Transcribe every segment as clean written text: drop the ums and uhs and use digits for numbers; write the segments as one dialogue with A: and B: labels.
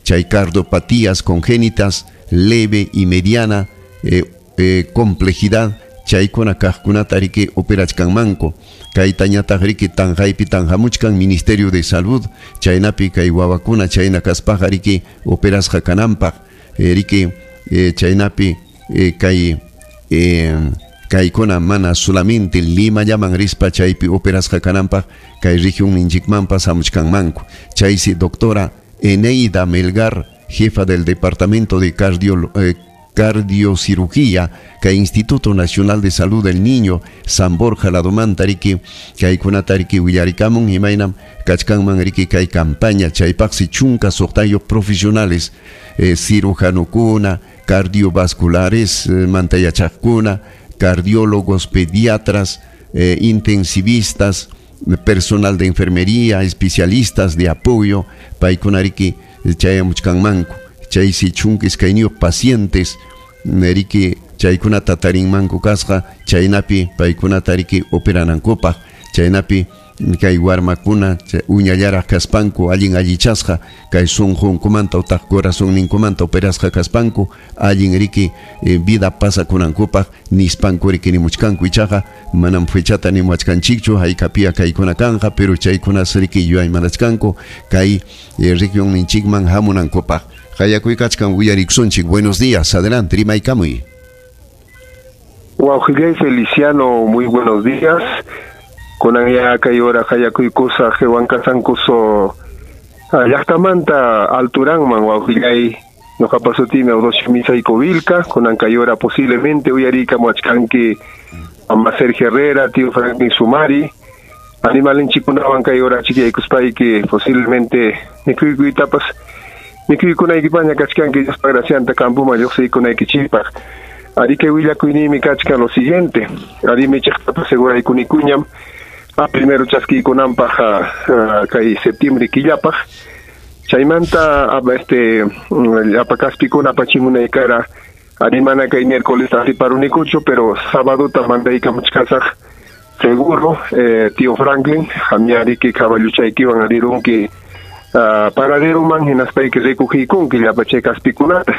A: Chay cardiopatías congénitas leve y mediana complejidad chaykuna kaqkunata riki operachkanmanku. Kaytañataq riki tanqaypi tanqamuchkan Ministerio de Salud, chaynapi kay wawakuna chayna kaspaqa riki operasqa kananpaq, riki chaynapi kay kaykuna mana solamente Limallaman rispa chaypi operasqa kananpaq kay regionninchikmanpas hamuchkanmanku. Chaysi doctora Eneida Melgar, jefa del Departamento de Cardiocirugía kay Instituto Nacional de Salud del Niño San Borja ladomanta riki kaykunata riki willarikamun imaynam kachkanman riki kay campaña chaypaqsi 16 profesionales, cirujanukuna, cardiovasculares manta yachaqkuna, cardiólogos, pediatras, intensivistas, personal de enfermería, especialistas de apoyo, paykuna riki chayamuchkanmanku. Chaysi 12 pacientes riki chaykunata tarinmanku kasqa, chaynapi paykunata riki operanankupaq, chaynapi kay warmakuna uñallaraq kaspanku allin allichasqa kay sunqunkumanta utaq corazonninkumanta operasqa kaspanku allin riki vida pasakunankupaq nispanku riki nimuchkanku. Ichaqa manam fechata nimuachkanchikchu haykapia kaykuna kanqa, pero chaykunas riki yuyaymanachkanku kay regionninchikman hamunankupaq. Qayakuykachkan uyarikusunchik. Buenos días, adelante, rimaykamuy.
B: Wawqillay Feliciano, muy buenos días. Kunan ya kay hora qayakuykusaq Huancasankuso llaqtamanta alturanman wawqillay ñuqapa sutimi Eudosio Misayko Vilca. Kunan kay hora posiblemente uyarikamuachkanki mama Sergio Herrera, tío Franklin Sumari. Animalinchikunawan kay hora chikiyaykuspayki posiblemente mikhuykuytapas mikhuykunaykipaña kachkanki Diospa gracianta campoman lluqsiykunaykichikpaq. Ari kay willakuyniymi kachkan lo siguiente. Ari michiqtapas seguraykunikuñam primero chaskiykunanpaq kay septiembre killapaq. Chaymanta llapa kaspikuna apachimunaykara ari mana kay miércoles atiparunikuchu, pero sabadota mandaykamuchkasaq seguro, tío Franklin, qamñariki caballuchaykiwan arirunki paraderoman hinaspayki recogiykunki llapa chay kaspikunata.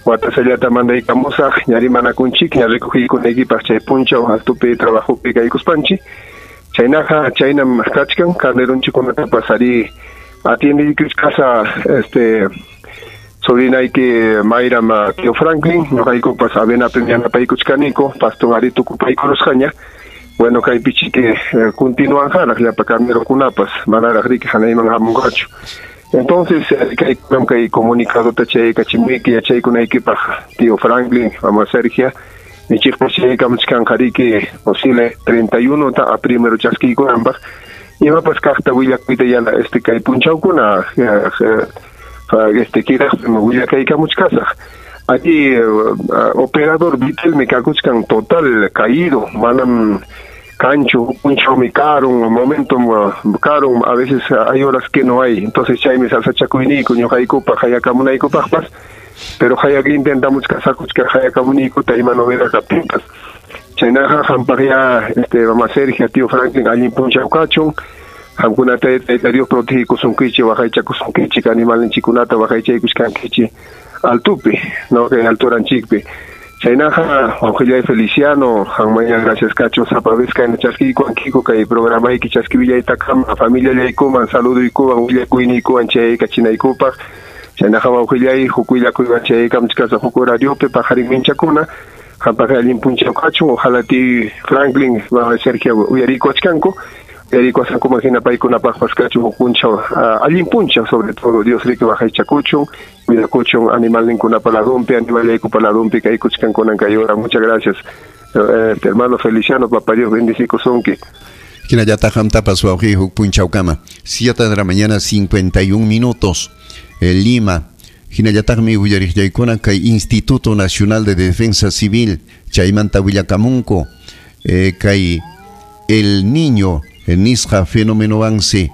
B: Watasallata mandaykamusaq ñari manakunchik ña recogiykunaykipaq chay punchaw altupi trabajopi kaykuspanchik. Chaynaqa chaynam kachkan carneronchikkunatapas ari atiendiykuchkasa sobrinayki Mayram tío Franklin, ñuqaykupas avenapi yanapaykuchkaniko paston ari tukupaykurusqaña. Bueno, kaypi chiki continuanjaraq llapa carnerokunapas manaraq riki hanayman hamunqachu. Entonces kaykunam kay comunicadota chaykachimuyki yachaykunaykipaq tío Franklin, mama Sergia. Michiqpas chaykamuchkanqa riki posible 31 ta a primero chaskiykunanpaq. Imapas kaqta willakuyta yana kay punchawkuna kiraqpi willakaykamuchkasaq. Allí operador Vitel me kakuchkan total caído, manam cancho, punchawmi karun, momento karun, a veces hay horas que no hay. Entonces chaymi salsachakuyniyku ñuqaykupaq hayakamunaykupaqpas, pero hayaq intentamos kasakuchka hayakamuniykuta ima novedad kaptinpas. Chaynaqa qampaq ya mama Sergia, tío Franklin allin punchaw kachun. Qamkunata Tayta Dios protegikusunkichik, waqaychakusunkichik, animalninchikkunata waqaychaykuchkankichik altupi, no kay alturanchikpi. Chaynaqa wawqillay Feliciano, qanmanya gracias kachun sapa vez kayna chaskiykuwankiku kay programayki chaskiwillaytakama familiallaykuman saluduykuwan willakuyniykuwan chaykachinaykupaq. Chaynaqa wawqillay huk willakuywan chaykamchkasaq huk horariopi paqarin minchakuna. Qampaq allin punchaw kachun, ojalá ti Franklin, Sergio uyarikuachkanku. Uyarikuasankuman hina paykunapaqpas kachun huk punchaw, allin punchaw sobre todo Dios riki waqaychakuchun, cuidakuchun animalninkunapa ladunpi, animallaykupa ladunpi kaykuchkankunan kay hora. Muchas gracias, hermano Feliciano, papá Dios bendicikusunki.
A: Hinallataq qamtapas wawqiy huk punchawkama. 7 de la mañana 51 minutos. Lima. Hinallataqmi uyariqllaykuna kay Instituto Nacional de Defensa Civil chaymanta willakamunku kay el niño nisqa fenómenowansi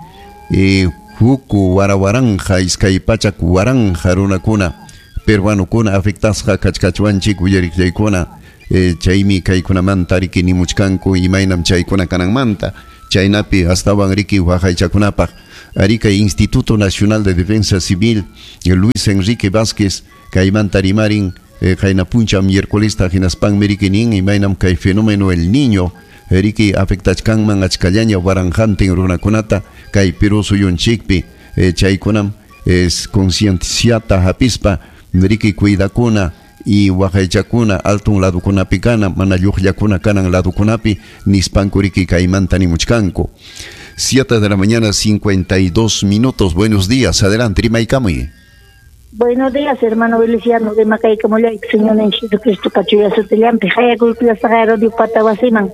A: huku warawaranja iskay pachak waranja runakuna peruanokuna afectasqa kachkachwanchik uyariqllaykuna chaymi kaykunamanta riki nimuchkanku imaynam chaykuna kananmanta. Chaynapi astawan riki waqaychakunapaq. Ari kay Instituto Nacional de Defensa Civil Luis Enrique Vázquez kaymanta rimarin qayna punchaw miércolesta hinaspanmi riki nin imaynam kay fenómeno El Niño riki afectachkanman achkallaña waranqantin runakunata kay Perú suyunchikpi chaykunam es concienciata hapispa riki cuidakuna y waqaychakuna altun ladukunapi kana mana lluqllakuna kanan ladukunapi nispanku riki kaymanta nimuchkanku. 7 de la mañana, 52 minutos. Buenos días, adelante, rimaykamuy.
C: Buenos días, hermano Feliciano de Macaycamullayki, Señor Jesucristo pachuya sutillampi, hayakuykullasaqa radio patawasiman.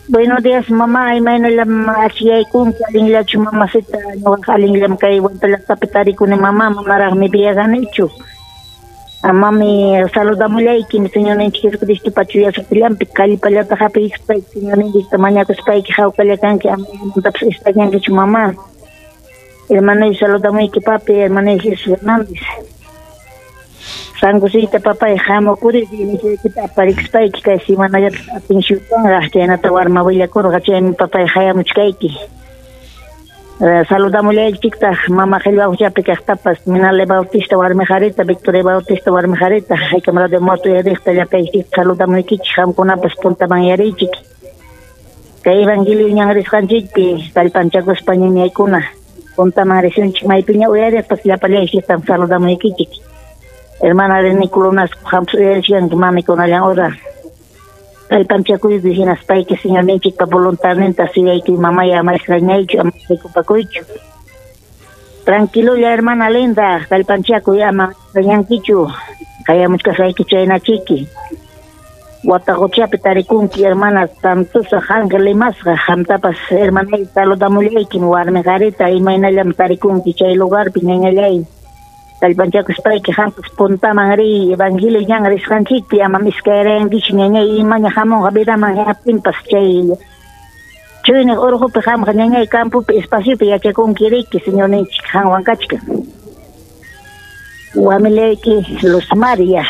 C: Buenos días, mamá, imaynallam achiyaykunki, allinllachu mamacita, ñuqaqa allinllam kay Huanta llaqtapi tarikuni mamá, manaraqmi viajanichu. Mami, saludamullayki, Señorninchik Jesucristo pachuya sutillampi, kallpallata hap'ispayki, Señorninchikta mañakuspayki, hawkalla kanki, ama imamantapas extrañankichu, mamá. Hermano, saludamuyki, papi, hermano Jesús Hernández. Sangusita, papay, hamukuri, nishaykita aparikispayki, kay semanallata atención chaynata warma willakurqa, chaymi papay hayamuchkayki. Saludamullaykichiktaq mama qillwaquchapi kaqtapas, Minale Bautista warmi qarita, Victoria Bautista warmi qarita, haykam radio moto yariqta llapaykichikta saludamuykichik, qamkunapas puntaman yariychik. Kay evangelio ñan risqanchikpi kallpanchakuspa ñañaykuna puntaman risunchik, maypiña uyariqpas llapallaykichiktam saludamuykichik. Hermana de Nicolás, qampas uyarichkanki mami kunallan hora. Kallpanchakuyki hinaspayki Señorninchikpa voluntadninta suyayki mamaya ama extrañaychu, ama preocupakuychu. Tranquilolla, hermana linda, kallpanchakuy ama extrañankichu. Hayamuchkasqayki chaynachiki. Wataquchapi tarikunki, hermana Santosa Ángel Limasqa, qamtapas hermanay saludamullaykim warmi qarita, imaynallam tarikunki chay lugarpi ñañallay. Kallpanchakuspayki qampas puntaman riy, evangelio ñan risqanchikpi amam iskayrayankichu ñañay, imaña hamunqa vidaman hinaptinpas chay chuyniq urqupi qamqa ñañay campopi espaciopi yachakunki riki, Señorninchik qanwan kachkan. Wamilayki Luz María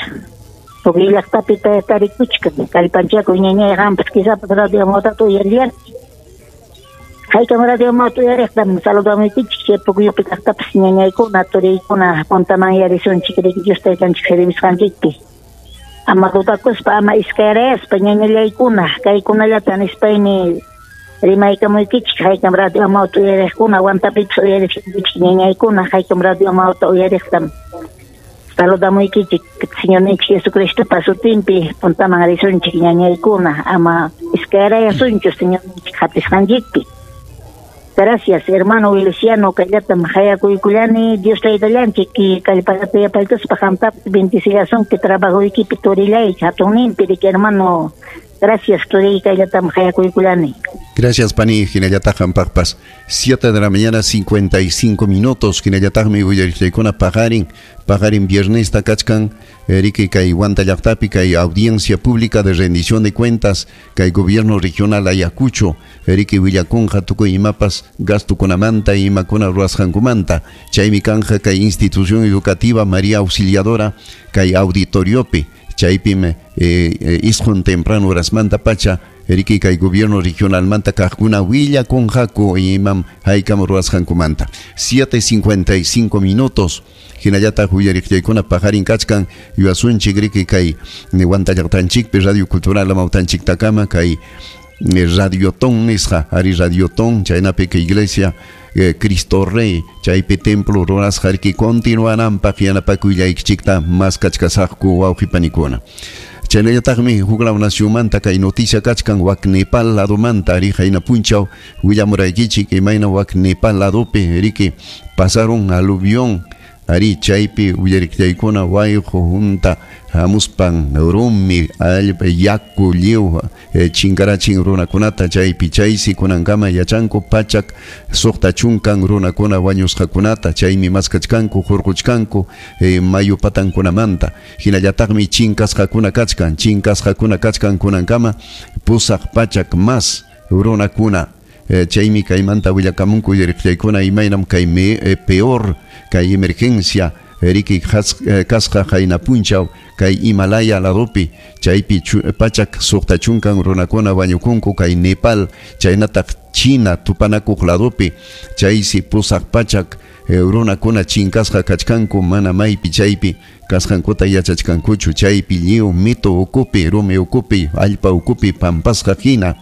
C: Puquio llaqtapi tarikuchkan, kallpanchakuy ñañay qampas quizapas radio motata uyariyanki. Haykam radio mota uyariqtam saludamuykichik, chay Puquiopi kaqtapas ñañaykuna, turiykuna puntaman yarisunchik riki Dios taytanchik servishqanchikpi. Ama dudakuspa, ama iskayrayaspa ñañallaykuna, kaykunallata nispaymi rimaykamuykichik, haykam radio mota uyariqkuna, Huantapipas uyarishunkichik ñañaykuna, haykam radio mota uyariqtam saludamuykichik, Señorninchik Jesucristopa sutinpi puntaman risunchik ñañaykuna, ama iskayrayasunchu Señorninchik hapisqanchikpi. Gracias, hermano Feliciano, kayllatam hayakuykullani, Dios taytallanchik kallpallata yapaykuspa qamtapas bendecillasunki trabajuykipi turillay, hatunninpi riki hermano. Gracias, turiy, kayllatam hayakuykullani.
A: Gracias, pani, hinallataq qampaqpas. 7 de la mañana, 55 minutos, hinallataqmi willariqllaykuna paqarin viernesta kachkan, riki kay Huanta llaqtapi kay audiencia pública de rendición de cuentas kay gobierno regional Ayacucho, riki willakunqa tukuy imapas gastukunamanta imakuna ruwasqankumanta, chaymi kanja kay institución educativa María Auxiliadora kay auditoriopi, chaypim isqun temprano horasmanta pacha riki kay gobierno regionalmanta kaqkuna willakunqaku imam haykam ruwasqankumanta. 7:55 minutos. Hinallataq willariqllaykuna paqarin kachkan yuasunchik riki kay Huanta llaqtanchikpi Radio Cultural Amawtanchiktakama kay Radiotón nisqa, ari Radiotón chaynapi kay iglesia Cristo Rey chaypi templo rurasqa riki continuananpaq yanapakuyllaykichikta maskachkasaqku wawqipanikuna. Chaynallataqmi huklaw nacionmanta kay noticia kachkan wak Nepal ladomanta ari hayna punchaw willamuraykichik imayna wak Nepal ladopi riki pasaron aluvión ari chaypi willariqllaykuna wayqu junta hamuspan rumi allpa yaku lliw chinkarachin runakunata chaypi chaysi kunankama yachanku pachak suqta chunkan runakuna wañusqakunata chaymi maskachkanku hurquchkanku mayu patankunamanta hinallataqmi chinkasqakuna kachkan kunankama pusaq pachak mas runakuna. Chaymi kaymanta willakamunku willariqllaykuna imaynam kay peor kay emergencia riki kasqa hayna punchaw kay Himalaya ladopi chaypi pachak suqta chunkan runakuna wañukunku kay Nepal chaynataq China tupanakuq ladopi chaysi 800 runakuna chinkasqa kachkanku mana maypi chaypi kasqankuta yachachkankuchu chaypi lliw mito ukupi rumi ukupi allpa ukupi pampasqa hina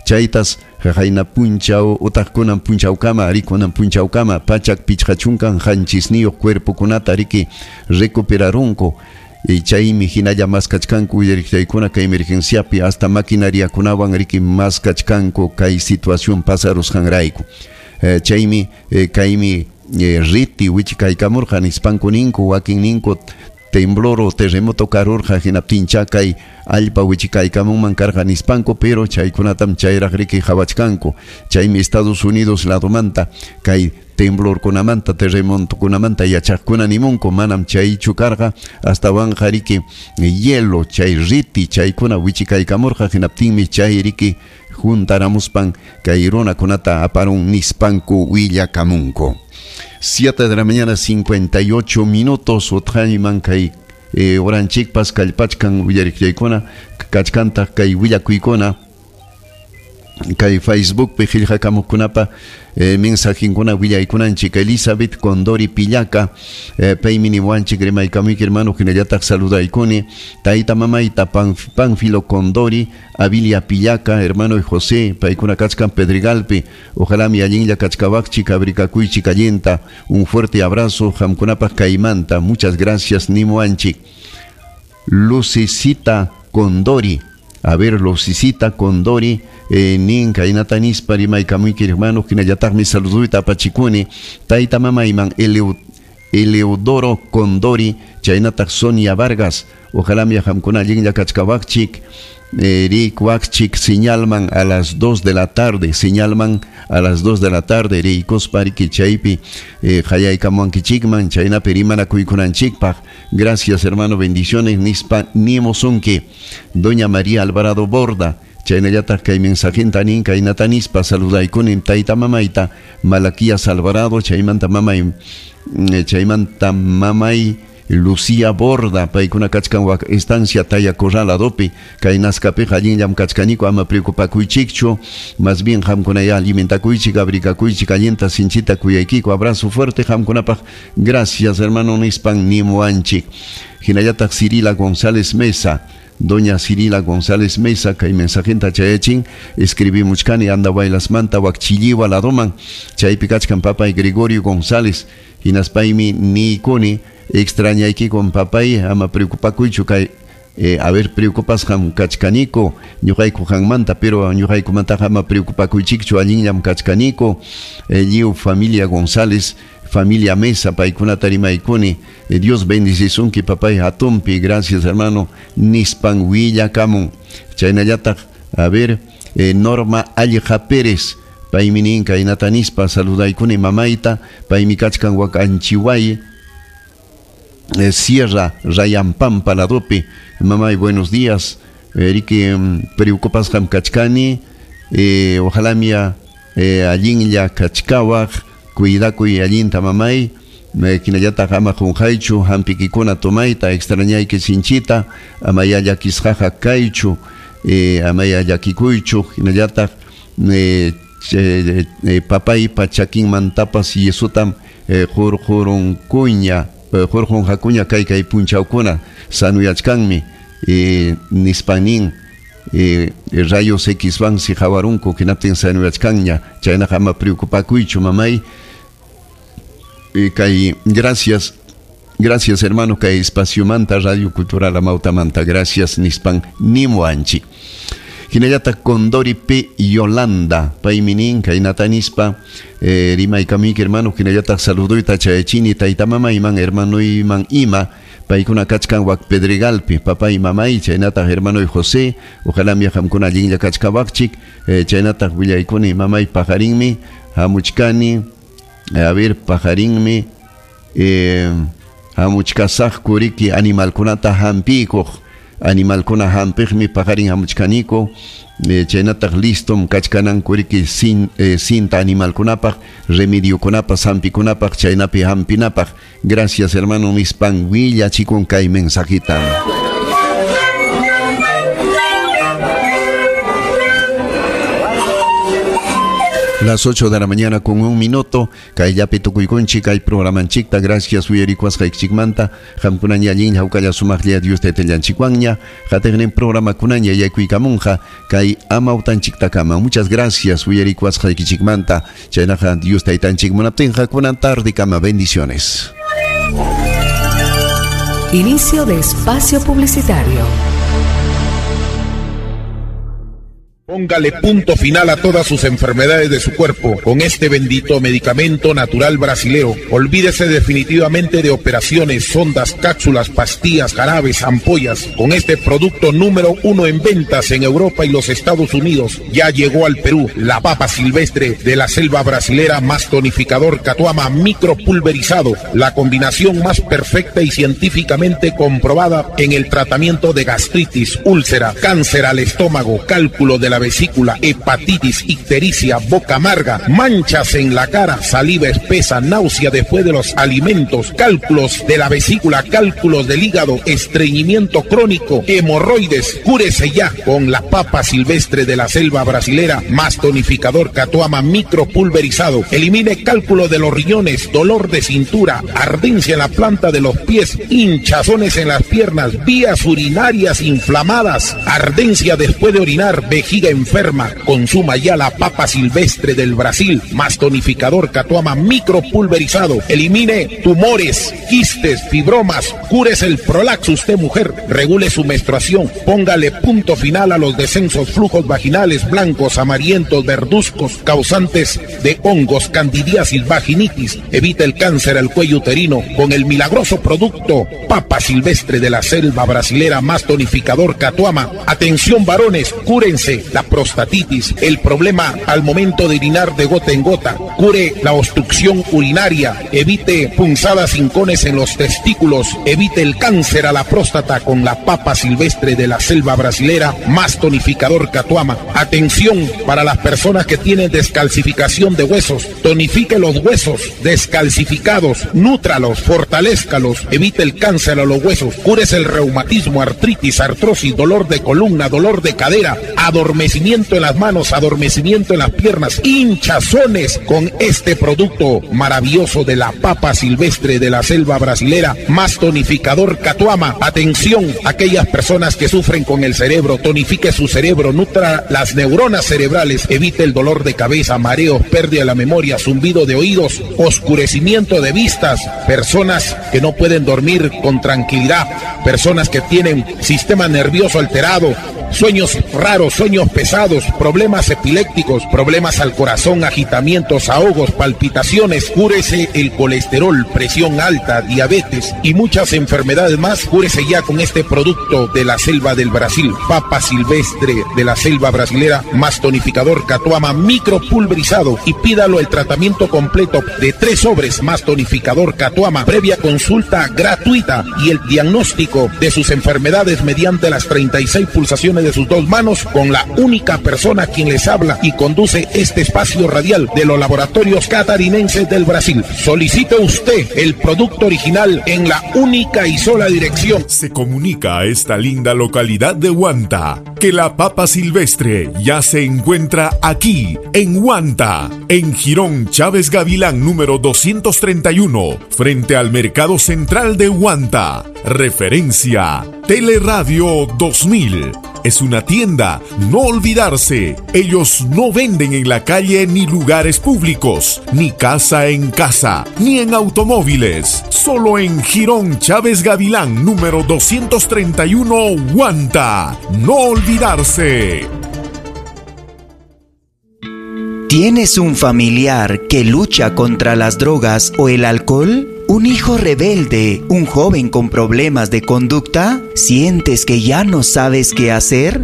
A: chaytas qayna punchaw utaq kunan punchawkama rikunan punchawkama 157 cuerpokunata riki recuperarunku y chaymi hinalla maskachkanku willariqchaykuna kay emergenciapi hasta maquinariakunawan riki maskachkanku kay situación pasarusqanrayku chaymi kaymi riti wichikaykamurqa nispanku ninku wakin ninku temblor o terremoto karurqa hinaptincha kay allpa wichikaykamunman karqa nispanku pero chaykunatam chayraq riki qhawachkanku chaymi Estados Unidos ladomanta kay temblorkunamanta terremotokunamanta yachaqkuna nimunku manam chaychu karqa astawanqa riki hielo chay riti chaykuna wichikaykamurqa hinaptinmi chay riki juntaramuspan kay runakunata aparun nispanku willakamunku. 7 de la mañana 58 minutos utqayman kay oranchikpas kallpachkan willariqllaykuna kachkantaq kay willakuykuna kay Facebookpi qillqakamuqkunapa mensajinkuna willaykunanchik Elizabeth Condori Pillaca paymi niwanchik rimaykamuyki hermano hinallataq saludaykuni tayta mamayta Pánfilo Condori Abilia Pillaca hermano José paykuna kachkan Pedregalpi ojalá mi allinlla kachkawaqchik abrikakuychik allinta un fuerte abrazo qamkunapaq kaymanta muchas gracias nimuanchik Lucecita Condori a ver Lucecita Condori nin kaynata nispa rimaykamuyki hermano hinallataqmi saluduyta apachikuni tayta mamayman Eleodoro Condori chaynataq Sonia Vargas ojalá mi qamkuna allinlla kachkawaqchik rikwaqchik señalman a las 2 de la tarde señalman a las 2 de la tarde rikuspa riki chaypi qayaykamuankichikman chaynapi rimanakuykunanchikpaq gracias hermano bendiciones nispa nimusunki doña María Alvarado Borda chaynallataq kay mensajinta nin kaynata nispa saludaykunin tayta mamayta Malaquías Alvarado chaymanta mamay Lucía Borda paykuna kachkan wak estancia Taya Corral ladopi kay naskapiqa allinllam kachkaniku ama preocupakuychikchu más bien qamkunaya alimentakuychik abrikakuychik allinta sinchita kuyaykiku abrazo fuerte qamkunapaq gracias hermano nispan nimuanchik hinallataq Cirila González Mesa Doña Cirila González Mesa kay mensajinta chayachin escribimuchkani Andahuaylasmanta wakchilliwa ladoman chaypi kachkan papay Gregorio González hinaspaymi nikuni extrañaykikun papay ama preocupakuychu kay a ver preocupasqam kachkaniku ñuqayku qanmanta pero ñuqaykumantaqa ama preocupakuychikchu allinllam kachkaniku lliw familia González familia Mesa paykunata rimaykuni Dios bendicisunki papay hatunpi gracias hermano nispan willakamun chaynallataq a ver Norma Alleja Pérez paymi nin kaynata nispa saludaykuni mamayta paymi kachkan wak Anchihuay Sierra Rayampampa ladopi mamay buenos días riki preocupasqam kachkani ojalá mia allinlla kachkawaq cuidakuy allinta mamay hinallataq ama qunqaychu hampikikuna tomayta extrañayki sinchita amaya llakisqaqa kaychu amaya llakikuychu hinallataq papaypa chakinmantapas yesutam qurqurunkuña qurqunqakuña kay kay punchawkuna sanuyachkanmi nispanin rayos X vansi qhawarunku hinaptin sanuyachkanña chaynaqa ama preocupakuychu mamay kay gracias gracias hermano kay espaciomanta Radio Cultural Amautamanta gracias nispan nimuanchik hinallataq Condori P Yolanda paymi nin kaynata nispa rimaykamuyki hermano hinallataq saluduyta chayachini tayta mamayman hermanoyman ima paykuna kachkan wak Pedregalpi papay mamay chaynataq hermanoy José ojalá mi qamkuna allinlla kachkawaqchik chaynataq willaykuni mamay pajarinmi hamuchkani a ver pajarinmi hamuchkasaqku riki animalkunata hampikuq animalkuna hampiqmi pajarin hamuchkaniku chaynataq listom kachkananku riki cinta animalkunapaq remediokunapaq hampikunapaq chaynapi hampinapaq gracias hermano nispan willachikun kay mensajita. Las 8 de la mañana con 1 minuto. Kayllapi tukuykunchik kay programanchikta. Gracias uyarikwasqaykichikmanta. Qamkunaña allin hawkalla sumaqlla Dios taytallanchikwanña. Qatiqnin programakunaña yaykuykamunqa kay amawtanchiktakama. Muchas gracias uyarikwasqaykichikmanta. Chaynaqa Dios taytanchik munaptinqa kunan tardekama. Bendiciones.
D: Inicio de espacio publicitario.
E: Póngale punto final a todas sus enfermedades de su cuerpo con este bendito medicamento natural brasilero. Olvídese definitivamente de operaciones, sondas, cápsulas, pastillas, jarabes, ampollas. Con este producto número 1 en ventas en Europa y los Estados Unidos, ya llegó al Perú la papa silvestre de la selva brasilera más tonificador Catuama micropulverizado, la combinación más perfecta y científicamente comprobada en el tratamiento de gastritis, úlcera, cáncer al estómago, cálculo de la vesícula, hepatitis, ictericia, boca amarga, manchas en la cara, saliva espesa, náusea después de los alimentos, cálculos de la vesícula, cálculos del hígado, estreñimiento crónico, hemorroides. Cúrese ya con la papa silvestre de la selva brasilera más tonificador Catuama micropulverizado. Elimine cálculo de los riñones, dolor de cintura, ardencia en la planta de los pies, hinchazones en las piernas, vías urinarias inflamadas, ardencia después de orinar, vejiga enferma. Consuma ya la papa silvestre del Brasil más tonificador Catuama micropulverizado. Elimine tumores, quistes, fibromas, cúrese el prolaxo usted mujer, regule su menstruación, póngale punto final a los descensos, flujos vaginales blancos, amarillentos, verduzcos, causantes de hongos, candidiasis, vaginitis. Evite el cáncer al cuello uterino con el milagroso producto papa silvestre de la selva brasilera más tonificador Catuama. Atención varones, cúrense la prostatitis, el problema al momento de orinar de gota en gota, cure la obstrucción urinaria, evite punzadas hincones en los testículos, evite el cáncer a la próstata con la papa silvestre de la selva brasilera más tonificador Catuama. Atención para las personas que tienen descalcificación de huesos, tonifique los huesos descalcificados, nútralos, fortalézcalos, evite el cáncer a los huesos, cúrese el reumatismo, artritis, artrosis, dolor de columna, dolor de cadera, adormecimiento en las manos, adormecimiento en las piernas, hinchazones con este producto maravilloso de la papa silvestre de la selva brasilera más tonificador Catuama. Atención, aquellas personas que sufren con el cerebro, tonifique su cerebro, nutra las neuronas cerebrales, evite el dolor de cabeza, mareos, pérdida de la memoria, zumbido de oídos, oscurecimiento de vistas, personas que no pueden dormir con tranquilidad, personas que tienen sistema nervioso alterado, sueños raros, sueños pesados, problemas epilépticos, problemas al corazón, agitamientos, ahogos, palpitaciones. Cúrese el colesterol, presión alta, diabetes y muchas enfermedades más. Cúrese ya con este producto de la selva del Brasil, papa silvestre de la selva brasilera más tonificador Catuama micropulverizado, y pídalo el tratamiento completo de 3 sobres más tonificador Catuama, previa consulta gratuita y el diagnóstico de sus enfermedades mediante las 36 pulsaciones de sus 2 manos, con la única persona quien les habla y conduce este espacio radial de los laboratorios catarinenses del Brasil. Solicite usted el producto original en la única y sola dirección.
F: Se comunica a esta linda localidad de Huanta que la papa silvestre ya se encuentra aquí, en Huanta, en Jirón Chávez Gavilán número 231, frente al Mercado Central de Huanta. Referencia Teleradio 2000. Es una tienda, no olvidarse. Ellos no venden en la calle ni lugares públicos, ni casa en casa, ni en automóviles. Solo en Jirón Chávez Gavilán, número 231, Huanta. No olvidarse.
G: ¿Tienes un familiar que lucha contra las drogas o el alcohol? ¿Un hijo rebelde? ¿Un joven con problemas de conducta? ¿Sientes que ya no sabes qué hacer?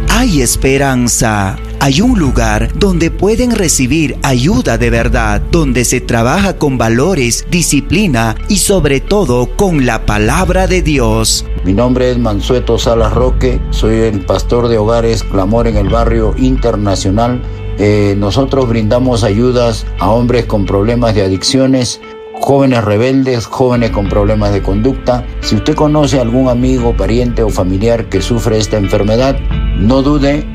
G: Hay esperanza. Hay un lugar donde pueden recibir ayuda de verdad, donde se trabaja con valores, disciplina y sobre todo con la palabra de Dios.
H: Mi nombre es Mansueto Salas Roque, soy el pastor de Hogares Clamor en el Barrio Internacional. Nosotros brindamos ayudas a hombres con problemas de adicciones, jóvenes rebeldes, jóvenes con problemas de conducta. Si usted conoce a algún amigo, pariente o familiar que sufre esta enfermedad, no dude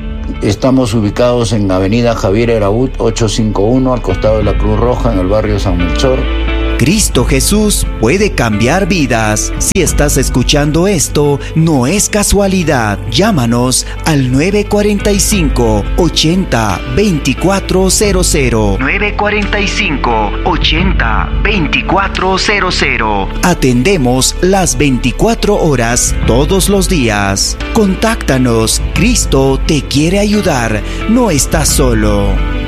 H: Estamos ubicados en Avenida Javier Eraut 851, al costado de la Cruz Roja, en el barrio San Melchor.
G: Cristo Jesús puede cambiar vidas. Si estás escuchando esto, no es casualidad. Llámanos al 945 80 2400. 945 80 2400. Atendemos las 24 horas todos los días. Contáctanos. Cristo te quiere ayudar. No estás solo.